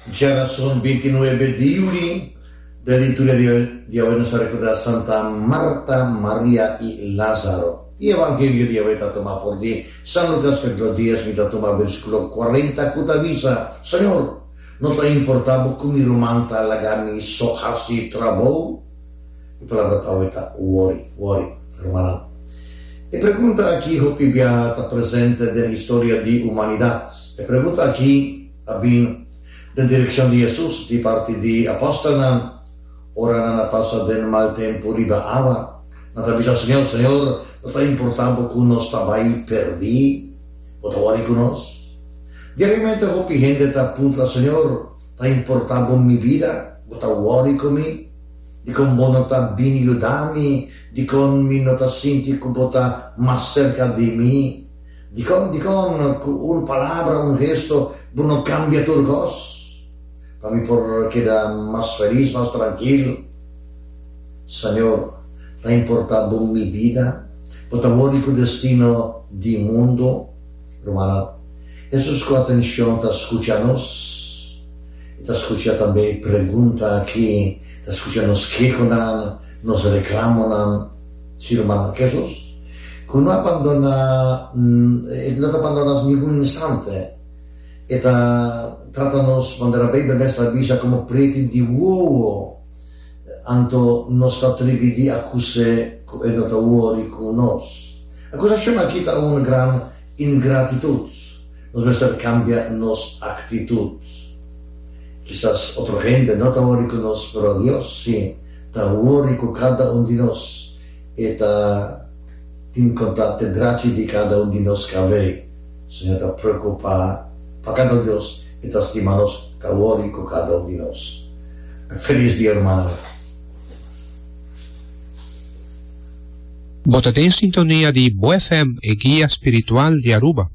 Djarason 29 di juli, den liturgia di di awe nos ta recorda Santa Marta, Maria y Lazaro. E evangelio di awe ta tuma for di San Lucas capitulo 10, mi ta tuma versiculo 40 cu ta bisa, Señor, no ta importa bo cu mi ruman ta laga mi so haci trabou? E palabra pa awe ta worry, worry, rumannan. E pregunta aki hopi biaha ta presente den historia di humanidad. E pregunta aki a bin den direkshon di Hesus di parti di apòstelnan ora nan a pasa den mal tempu riba awa. Nan ta bisa, Señor, Señor, no ta importá bo ku nos ta bai pèrdí? Bo ta wòri ku nos? Diariamente hopi hende ta puntra, Señor, ta importá bo mi bida? Bo ta wòri ku mi? Dikon bo no ta bin yuda mi? Dikon mi no ta sinti ku bo ta mas serka di mi? Dikon, dikon ku un palabra, un gesto, bo no kambia tur kos? Pa mi por keda mas felis, mas trankil. Señor, ta importá bo mi bida? Bo ta wòri ku destino di mundu? Rumannan, Hesus ku atenshon ta skucha nos. E ta skucha tambe e pregunta aki, ta skucha nos kehonan, nos reklamonan. Sí, rumannan, Hesus ku no a bandoná, e no ta bandoná nos ningun instante. E ta trata nos manera Beibel mes ta bisa komo preti di wowo. Anto nos ta tribi di akus'é ku e no ta wòri ku nos. Akusashon aki ta un gran ingratitut. Nos mester kambia nos aktitut. Kisas otro hende no ta wòri ku nos, pero Dios sí ta wòri ku kada un di nos. E ta tin konta te drachi di kada un di nos kabei. Señor ta preokupá pa kada un di nos, e ta stima nos, ta wòri ku kada un di nos. Felis dia rumannan. Bo ta den sintonia di Bo FM, e guia spiritual di Aruba.